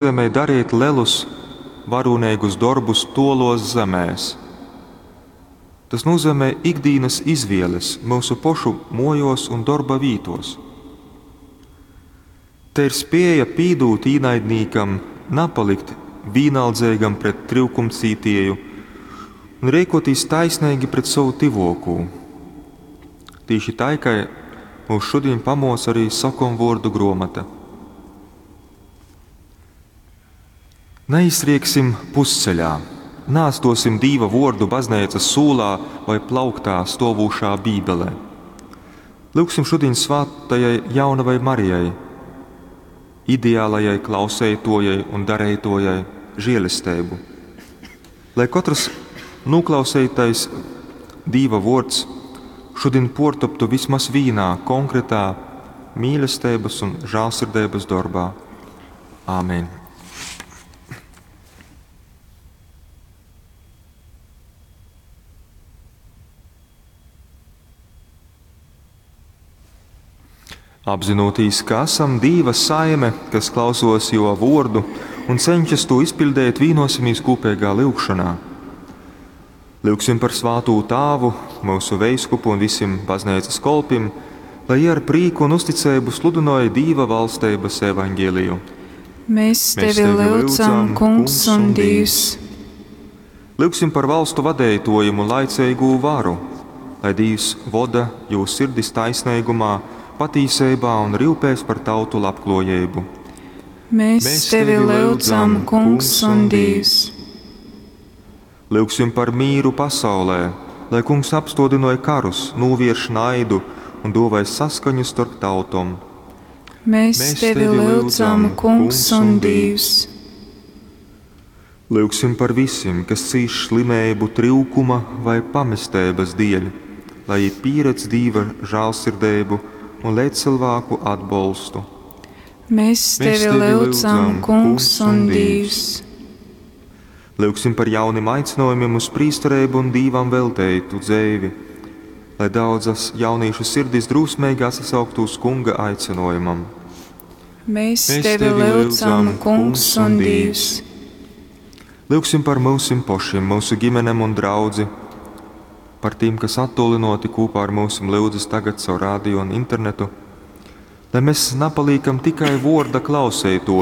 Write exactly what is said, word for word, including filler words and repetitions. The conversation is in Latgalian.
Nūzeimej darīt lelus, varūneigus dorbus tuoluos zemēs. Tas nozīmē ikdienas izvēles mūsu pošu mojos un darba vītos. Te ir spēja pīdūt īnaidnīkam, napalikt vīnaldzeigam pret tryukumcītieju un rīkoties taisnīgi pret savu tivokū. Tīši tai, kai mūs šodien pamoca arī sokomvordu gromata. Neiztrieksim pusceļā, neatstosim Dīva vordu bazneicas sūlā vai plauktā stovūšā bībelē. Lūgsim šodien svātajai jaunavai Marijai, ideālajai klauseitojai un dareitojai žēlesteibu. Lai katrs noklausītais Dīva vords šodien portoptu vismaz vīnā konkrētā mīlestības un žālsirdības darbā. Āmen! Apzinoties, ka esam Dīva saime, kas klausos jo vordu un cenšas to izpildīt, vienosimies kopīgā lūgšanā. Lūgsim par svātū tāvu, mūsu veiskupu un visiem baznīcas kolpim, lai jie ar prīku un uzticību sludināja Dīva valstības evaņģēliju. Mēs tevi lūdzam, Kungs un Dievs. Lūgsim par valstu vadētojiem un laicīgū varu, lai Dievs voda jūs sirdis taisnīgumā, patīsībā un rūpēs par tautu labklājību. Mēs, Mēs tevi lūdzam, Kungs un Dievs. Lūgsim par mīru pasaulē, lai Kungs apstodinoja karus, novērš naidu un dovai saskaņu starp tautom. Mēs, Mēs tevi lūdzam, Kungs un Dievs. Lūgsim par visiem, kas cīš slimību, trūkuma vai pamestības dēļ, lai pieredz Dieva žēlsirdību un līdzcilvēku atbalstu. Mēs tevi lūdzam, Kungs un Dievs. Lūgsim par jauniem aicinājumiem uz prīsterību un Dīvam veltētu dzēvi, lai daudzas jaunīšu sirdis drūsmīgi atsauktu uz Kunga aicinājumam. Mēs, Mēs tevi lūdzam, Kungs un Dievs. Lūgsim par mūsim pošiem, mūsu ģimenēm un draudzi, par tiem, kas attolinoti kopā ar mūsim lūdzas tagad caur rādio un internetu, lai mēs napaliekam tikai vorda klausētoji,